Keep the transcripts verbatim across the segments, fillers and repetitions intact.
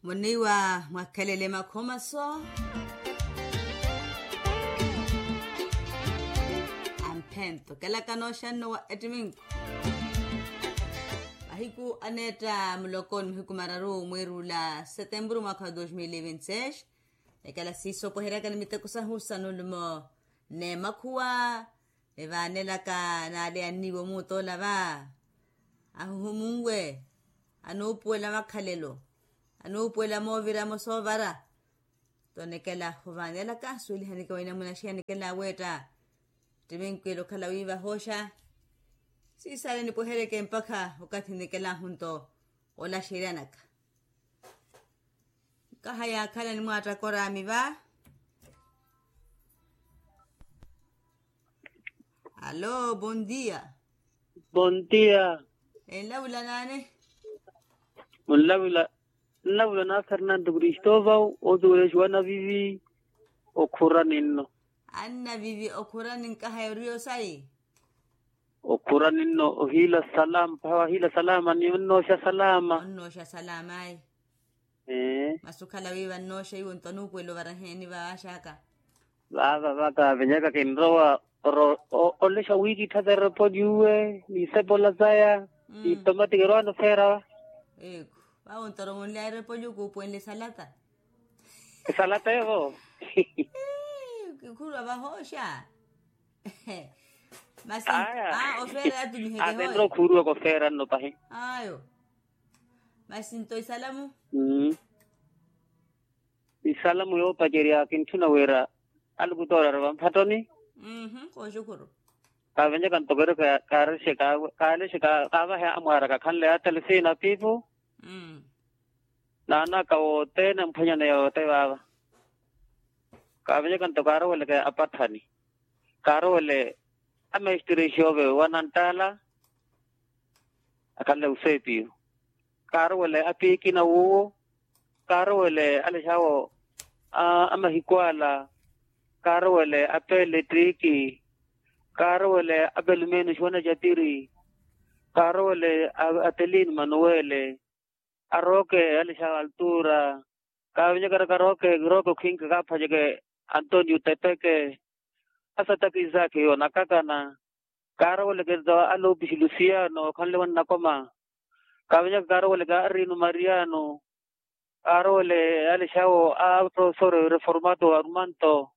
Muniwa mwakhelele makhomaso. Amphento kelaka nooxanno wa ettiminku. Mahiku aneetta muloko ni mahiku mararu mwiirula setempuru mwaakha wa dos mil e vinti seis. Ekala siisopoheryaka ni miteko sahu sa nulumo n'emakhuwa. Evaanelaka naale anniiwo muutoola va ahuhumunwe, anuupuwela makhalelo, anuupuwela mooviramo soovara. Tonekela ovaanelaka suwelihanike wa inamuna xiya nikela weetta. Ttiminkwile okhala wiiva hooxa. Siisaale nipweheryeke mpakha okathi nikelahu nto olaxeryanaka. Nkaha yaakhala nimwaattakora ami va. Alo bondia. Bondia. Enlavula naani? Munlavula nlavula na fernando cristovao otuwelexiwa navivi. Okhurani nno. Annavivi okhurani nkaha yoriyo sayi. Okhurani nno ohiila salama paha wahiila salama ni onnooxa salama. Onnooxa salama ayi. Masi okhala wiiva nnooxa iwo nto anuupuwela ovara heeni vaaxaka? Vaava vaka venyaka kinrowa oro olexa wiikittha verepoliuwe ni isepola saya. Ni tomati kerwaano feera. Eku vavo nto oro munlya erepoliuku upuwenle salata. Salata evo. Kikhurwa vahooxa. Masi aa ofeera yatumiheke hooyo. Atenre okhuuruwaka ofeera nno pahi. Ayo. Masi nto isalamu? Isalamu yoopacerya kintthuna wira alukutoora ari vamphattoni. Kooxukhuru. Kaavenyaka nto keri kaalexe kaavahe amwaaraka khanle atele siina piipu. Naanaka wothene mphwanyane yoote vaava. Kaavenyaka nto kaaroweleke apatthani. Kaarowele amestre exoove wa nanttaala akhanle eusepiyo. Kaarowele apiikina wuwo. Kaarowele alexawo a mahiku ala. Kaarowele apelettiiki. Kaarowele apelumeni oxiwana jatiri. Kaarowele atelini manuwele. Arooke alexawo altura. Kaavenyaka araka arooke kirooke okhinka kaaphwanyeke antonio tepeke. Asataki isaki yoonakakana. Kaaroweleke nto aloopisi lusiano okhanle wannakoma. Kaavenyaka kaaroweleke arino mariano. Kaarowele alexawo a profesor reformato arumanto.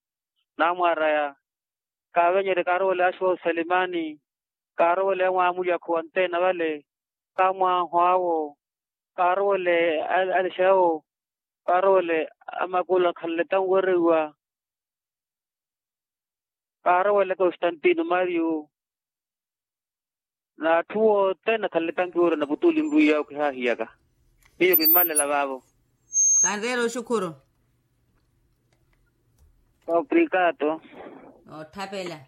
Naamwaraya. Kaavenyerye kaarowele axuwa oselimani. Kaarowele amwaamulya akhuwa nteena vale. Kaamwaaho awo. Kaarowele alexawo. Kaarowele amakula khanle tanwereiwa. Kaarowele constantino mario. N'atthu wothene akhanle tankiwurya na putuuli nrwiyawe khihahiyaka. Miyo kimmalela vaavo. Kanreera oxukhuru. Obrigado. Noottapela.